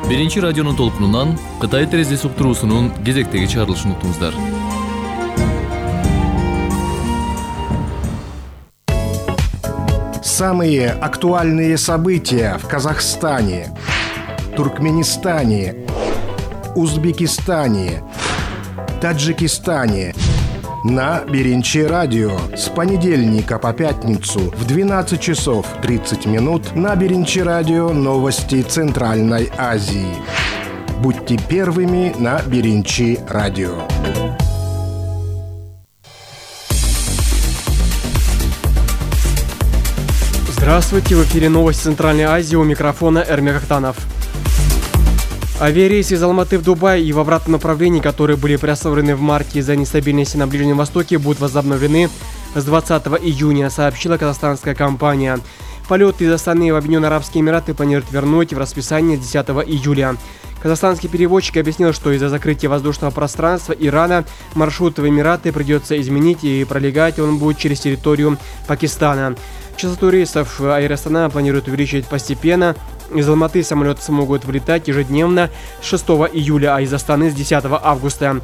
Биринчи радионун толкунунан Кытай терезеси уктуруусунун кезектеги чыгарылышын уктуңуздар. Самые актуальные события в Казахстане, Туркменистане, Узбекистане, Таджикистане на Биринчи радио с понедельника по пятницу в 12 часов 30 минут на Биринчи радио новости Центральной Азии. Будьте первыми на Биринчи радио. Здравствуйте, в эфире новости Центральной Азии, у микрофона Эрмек Ахтанов. Авиарейсы из Алматы в Дубай и в обратном направлении, которые были приостановлены в марте из-за нестабильности на Ближнем Востоке, будут возобновлены с 20 июня, сообщила казахстанская компания. Полеты из Астаны в Объединенные Арабские Эмираты планируют вернуть в расписание 10 июля. Казахстанский перевозчик объяснил, что из-за закрытия воздушного пространства Ирана маршрут в Эмираты придется изменить, и пролегать он будет через территорию Пакистана. Частоту рейсов Air Astana планирует увеличить постепенно. Из Алматы самолеты смогут вылетать ежедневно с 6 июля, а из Астаны с 10 августа.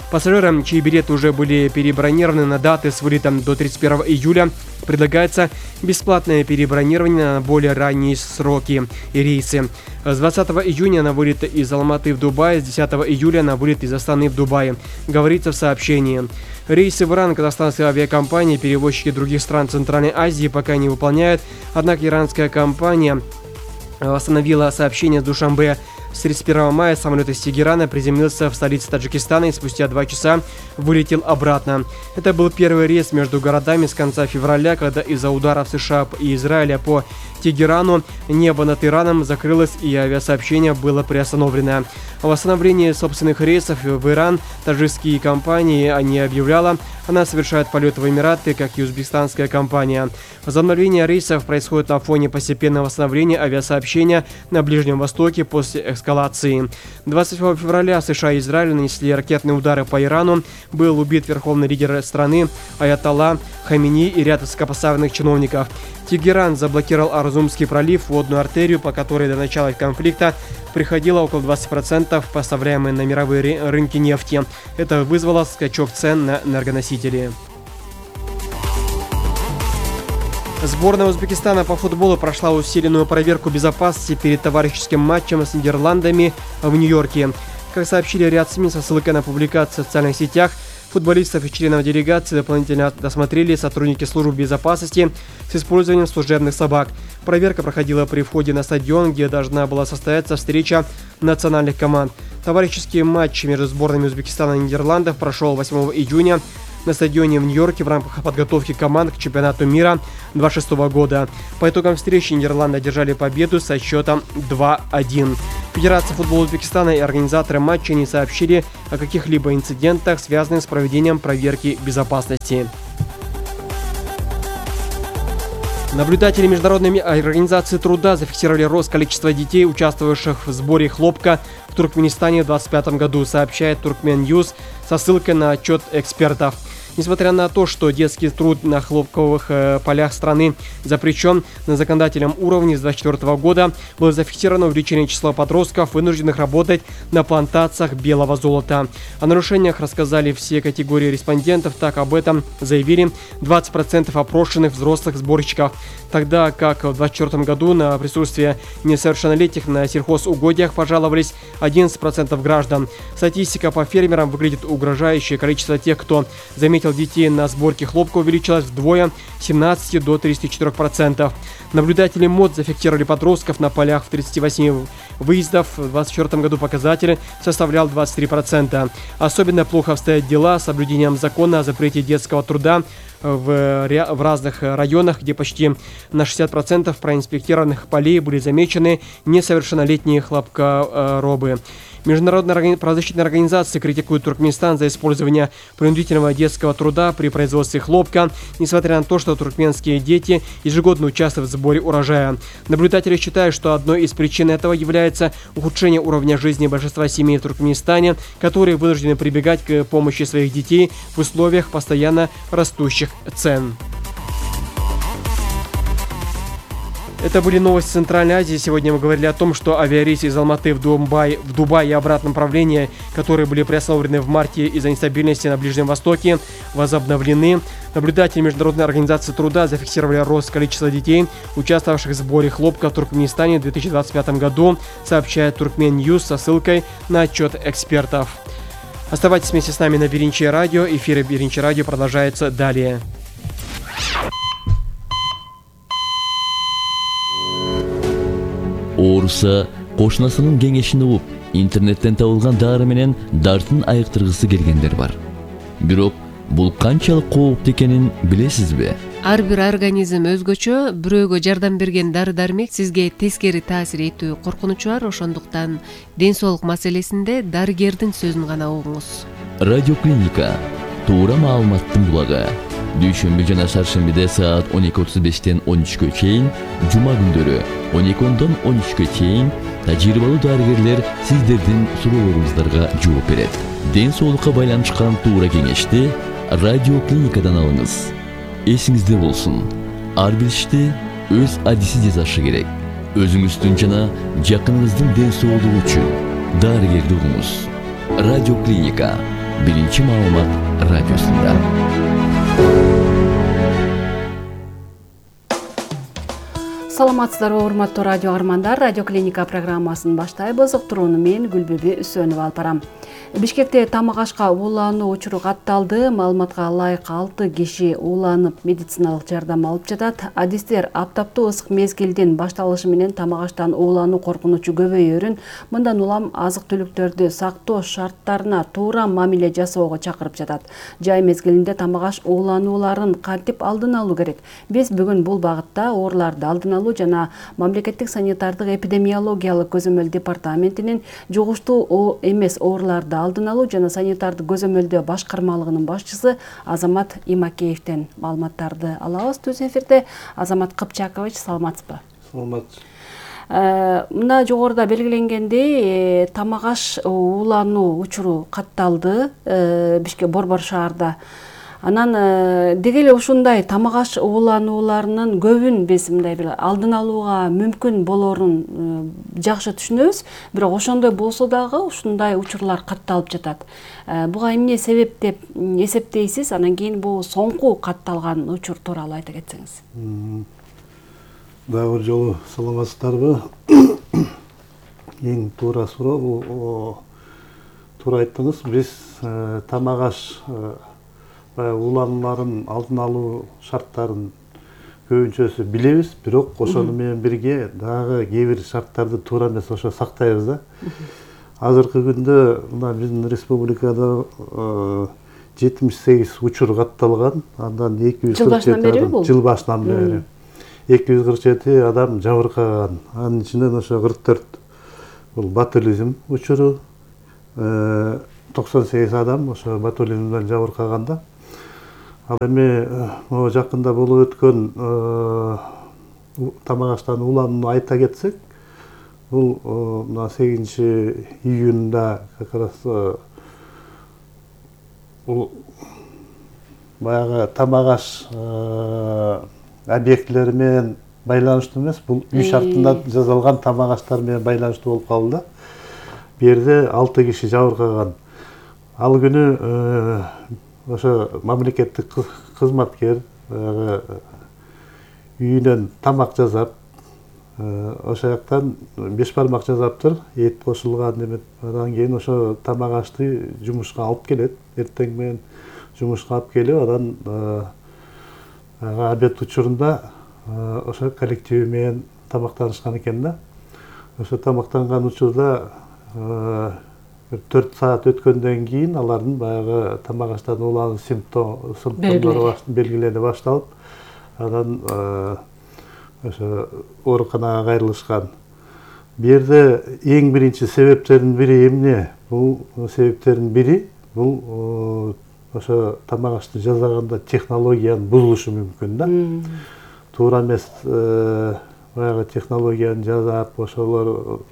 Пассажирам, чьи билеты уже были перебронированы на даты с вылетом до 31 июля, предлагается бесплатное перебронирование на более ранние сроки и рейсы. С 20 июня на вылет из Алматы в Дубай, с 10 июля на вылет из Астаны в Дубай, говорится в сообщении. Рейсы в Иран казахстанской авиакомпании, перевозчики других стран Центральной Азии пока не выполняют, однако иранская компания остановила сообщение с Душанбе. С 31 мая самолет из Тегерана приземлился в столице Таджикистана и спустя 2 часа вылетел обратно. Это был первый рейс между городами с конца февраля, когда из-за ударов США и Израиля по Тегерану небо над Ираном закрылось и авиасообщение было приостановлено. О восстановлении собственных рейсов в Иран таджикские компании не объявляла. Она совершает полеты в Эмираты, как и узбекистанская компания. Возобновление рейсов происходит на фоне постепенного восстановления авиасообщения на Ближнем Востоке после эскалации. 27 февраля США и Израиль нанесли ракетные удары по Ирану. Был убит верховный лидер страны Аятолла Хамини и ряд высокопоставленных чиновников. Тегеран заблокировал Арзумский пролив, водную артерию, по которой до начала конфликта приходило около 20% поставляемой на мировые рынки нефти. Это вызвало скачок цен на энергоносители. Сборная Узбекистана по футболу прошла усиленную проверку безопасности перед товарищеским матчем с Нидерландами в Нью-Йорке. Как сообщили ряд СМИ со ссылкой на публикации в социальных сетях, футболистов и членов делегации дополнительно досмотрели сотрудники службы безопасности с использованием служебных собак. Проверка проходила при входе на стадион, где должна была состояться встреча национальных команд. Товарищеский матч между сборными Узбекистана и Нидерландов прошел 8 июня на стадионе в Нью-Йорке в рамках подготовки команд к чемпионату мира 2026 года. По итогам встречи Нидерланды одержали победу со счетом 2-1. Федерация футбола Узбекистана и организаторы матча не сообщили о каких-либо инцидентах, связанных с проведением проверки безопасности. Наблюдатели Международной организации труда зафиксировали рост количества детей, участвовавших в сборе хлопка в Туркменистане в 2025 году, сообщает Turkmen-News со ссылкой на отчет экспертов. Несмотря на то, что детский труд на хлопковых полях страны запрещен, на законодательном уровне с 2024 года было зафиксировано увеличение числа подростков, вынужденных работать на плантациях белого золота. О нарушениях рассказали все категории респондентов, так об этом заявили 20% опрошенных взрослых сборщиков, тогда как в 2024 году на присутствие несовершеннолетних на сельхозугодиях пожаловались 11% граждан. Статистика по фермерам выглядит угрожающе. Количество тех, кто заметил детей на сборке хлопка, увеличилось вдвое с 17 до 34%. Наблюдатели МОД зафиксировали подростков на полях в 38 выездов. В 2024 году показатель составлял 23%. Особенно плохо обстоят дела с соблюдением закона о запрете детского труда в разных районах, где почти на 60% проинспектированных полей были замечены несовершеннолетние хлопкоробы. Международная правозащитная организация критикует Туркменистан за использование принудительного детского труда при производстве хлопка, несмотря на то, что туркменские дети ежегодно участвуют в сборе урожая. Наблюдатели считают, что одной из причин этого является ухудшение уровня жизни большинства семей в Туркменистане, которые вынуждены прибегать к помощи своих детей в условиях постоянно растущих цен. Это были новости Центральной Азии. Сегодня мы говорили о том, что авиарейсы из Алматы в Дубай и обратном направлении, которые были приостановлены в марте из-за нестабильности на Ближнем Востоке, возобновлены. Наблюдатели Международной организации труда зафиксировали рост количества детей, участвовавших в сборе хлопка в Туркменистане в 2025 году, сообщает Туркмен Ньюс со ссылкой на отчет экспертов. Оставайтесь вместе с нами на Биринчи радио. Эфир Биринчи радио продолжается далее. Ооруса кошунасынын кеңешин угуп, интернеттен табылган дары менен дартын айыктыргысы келгендер бар. Бирок бул канчалык кооптуу экенин билесизби? Ар бир организм өзгөчө, бирөөгө жардам берген дары-дармек сизге тескери таасир этүү коркунучу бар, ошондуктан ден соолук маселесинде дарыгердин сөзүн гана угуңуз. Радиоклиника туура маалыматтын булагы. Дүйшөмбү жана шаршембиде саат 12:35-тен 13-кө чейин, жума күндөрү 12-дон 13-кө чейин тажрыйбалуу дарыгерлер сиздердин суроолоруңуздарга жооп берет. Ден соолукка байланышкан туура кеңешти радиоклиникадан алыңыз. Эсиңизде болсун, ар бир ишти өз адиси жасашы керек. Өзүңүздүн жана жакыныңыздын ден соолугу үчүн дарыгерди угуңуз. Радиоклиника биринчи маалымат радиосунда. Саламатсыздарбы, урматтуу радио армандар. Радиоклиника программасын баштайбыз. Уктурууну мен Гүлбүбү Үсөнова алып барам. Бишкекте тамак ашка уулануу учуру катталды. Маалыматка ылайык 6 киши ууланып медициналык жардам алып жатат. Адистер аптаптуу ысык мезгилдин башталышы менен тамак аштан уулануу коркунучу көбөйөрүн, мындан улам азык-түлүктөрдү сактоо шарттарына туура мамиле жасоого чакырып жатат. Жай мезгилинде тамак аш ууланууларын кантип алдын алуу керек? Биз бүгүн бул багытта ооруларды алдын алуу жана мамлекеттик санитардык эпидемиологиялык көзөмөл департаментинин жугуштуу эмес ооруларды алдын алуу жана санитардык көзөмөлдөө башкармалыгынын башчысы Азамат Имакеевден маалыматтарды алабыз. Түз эфирде Азамат Кыпчакович, саламатсызбы? Саламат. Мына жогоруда белгиленгендей, тамак аш уулануу учуру катталды Бишкек Борбор шаарда. Анан деги эле ушундай тамак аш ууланууларынын көбүн биз мындай бир алдын алууга мүмкүн болоорун жакшы түшүнөбүз, бирок ошондой болсо дагы ушундай учурлар катталып жатат. Буга эмне себеп деп эсептейсиз? Анан кийин бул соңку катталган учур тууралуу айта кетсеңиз. Дагы бир жолу саламатсыздарбы? Эң туура суроо бул, туура айттыңыз. Биз тамак аш ууланууларын алдын алуу шарттарын көбүнчөсү билебиз, бирок ошону менен бирге дагы кээ бир шарттарды туура эмес ошо сактайбыз да. Азыркы күндө мына биздин республикада 78 учур катталган, андан 247 адам жыл башынан бери 247 адам жабыркаган. Анын ичинен ошо 44 бул ботулизм учуру, 98 адам ошо ботулизмден жабыркаганда. Ал эми жакында болуп өткөн тамак аштан ууланууну айта кетсек, бул мына 8-июнда как раз бул баягы тамак аш объектилери менен байланыштуу эмес, бул үй шартында жасалган тамак аштар менен байланыштуу болуп калды да. Бу жерде 6 киши жабыркаган. Ал күнү ошо мамлекеттик кызматкер үйүнөн тамак жасап, ошо жактан 5 бармак жасаптыр, эт кошулган эме. Андан кийин ошо тамак ашты жумушка алып келет. Эртең менен жумушка алып келип, анан обед учурунда ошо коллективи менен тамактанышкан экен да. Ошо тамактанган учурда 4 саат өткөндөн кийин алардын баягы тамак аштан уулануу симптомдору белгилене башталып, анан ошо ооруканага кайрылышкан. Бу жерде эң биринчи себептердин бири эмне? Бул себептердин бири бул ошо тамак ашты жасаганда технологиянын бузулушу мүмкүн да. Туура эмес баягы технологияны жасап, ошолор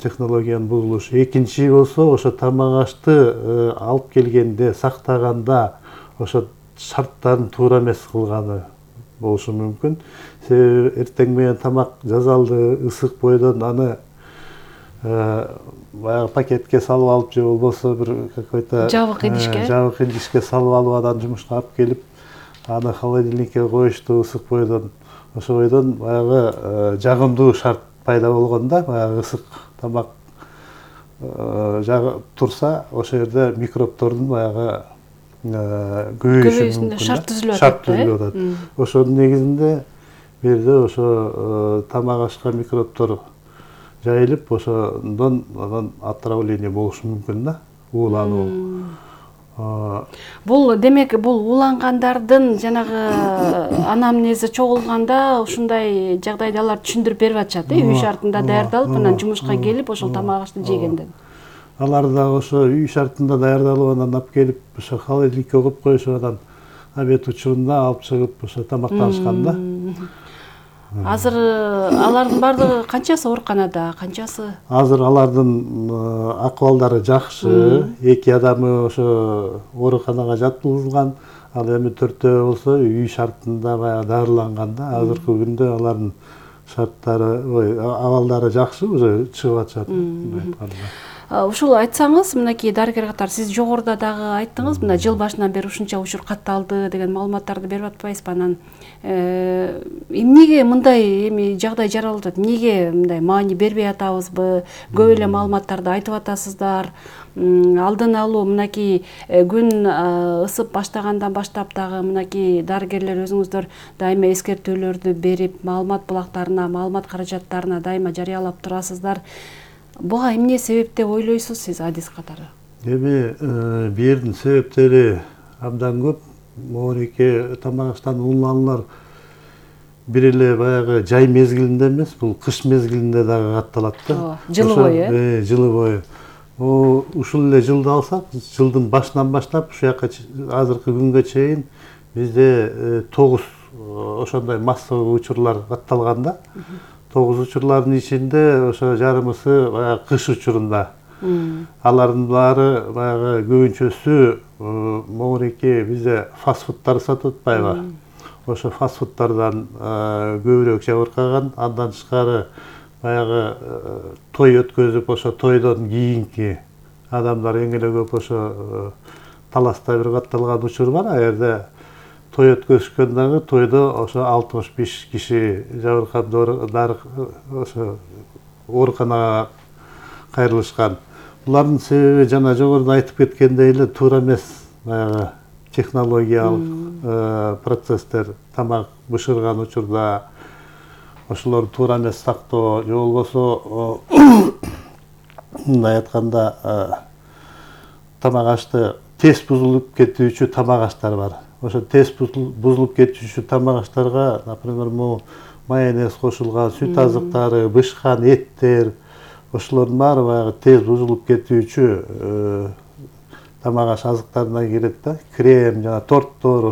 технологиянын бузулушу. Экинчи болсо ошо тамак ашты алып келгенде, сактаганда ошо шарттарын туура эмес кылганы. болушу мүмкүн. Себеби эртең менен тамак жазалды, ысык бойдон аны баягы пакетке салып алып же болбосо бир какой-то жабык идишке салып алып анан жумушка алып келип аны холодильникке коюшту ысык бойдон. Ошо бойдон баягы жагымдуу шарт пайда болгондо баягы ысык тамак турса ошол жерде микробтордун баягы көбөйүшү мүмкүн. Шарт түзүлүп атат. Ошонун негизинде бул жерде ошо тамак ашка микробтор жайылып, ошондон анан отравление болушу мүмкүн да, уулануу. Бул демек бул уулангандардын жанагы анамнези чогулганда ушундай жагдайда алар түшүндүрүп берип атышат, үй шартында даярдалып, анан жумушка келип ошол тамак ашты жегенден. Алар дагы ошо үй шартында даярдалып анан алып келип ошо холодильникке коюп коюшуп анан обед учурунда алып чыгып ошо тамактанышкан да. Азыр алардын бардыгы канчасы ооруканада, канчасы? Азыр алардын акыбалдары жакшы. 2 адамы ошо ооруканага жаткызылган, ал эми 4-өө болсо үй шартында баягы дарыланган да. Азыркы күндө алардын шарттары, абалдары жакшы, уже чыгып атышат. Ушул айтсаңыз, мынакей дарыгер катары сиз жогоруда дагы айттыңыз, мына жыл башынан бери ушунча учур катталды деген маалыматтарды берип атпайсызбы? Анан эмнеге мындай эми жагдай жаралып атат? Эмнеге мындай маани бербей атабызбы? Көп эле маалыматтарды айтып атасыздар. Алдын алуу мынакей күн ысып баштагандан баштап дагы мынакей дарыгерлер өзүңүздөр дайыма эскертүүлөрдү берип, маалымат булактарына, маалымат каражаттарына дайыма жарыялап турасыздар. Буга эмне себеп деп ойлойсуз сиз адис катары? Эми бул жердин себептери абдан көп. Могуреке тамак аштан ууланулар бир эле баягы жай мезгилинде эмес, бул кыш мезгилинде дагы катталат да. Жылы бою, жылы бою. Ушул эле жылды алсак, жылдын башынан баштап ушу жака азыркы күнгө чейин бизде 9 ошондой массовый учурлар катталган да. 9 учурлардын ичинде ошо жарымысы баягы кыш учурунда. Алардын баары баягы көбүнчөсү могуреке бизде фастфудтар сатып атпайбы? Ошо фастфудтардан көбүрөөк жабыркаган, андан тышкары баягы той өткөзүп, ошо тойдон кийинки адамдар эң эле көп ошо таласта бир катталган учур бар. А жерде той өткөзүшкөн дагы тойдо ошо 65 киши жабыркап ошо ооруканага кайрылышкан. Булардын себеби жана жогоруда айтып кеткендей эле туура эмес баягы технологиялык процесстер, тамак бышырган учурда ошолорду туура эмес сактоо, же болбосо мындай айтканда тамак ашты тез бузулуп кетүүчү тамак аштар бар. Ошо тез бузулуп кетүүчү тамак аштарга, например, майонез кошулган, сүт азыктары, бышкан эттер, ошолордун баары баягы тез бузулуп кетүүчү тамак аш азыктарына кирет да. Крем, жана торттор,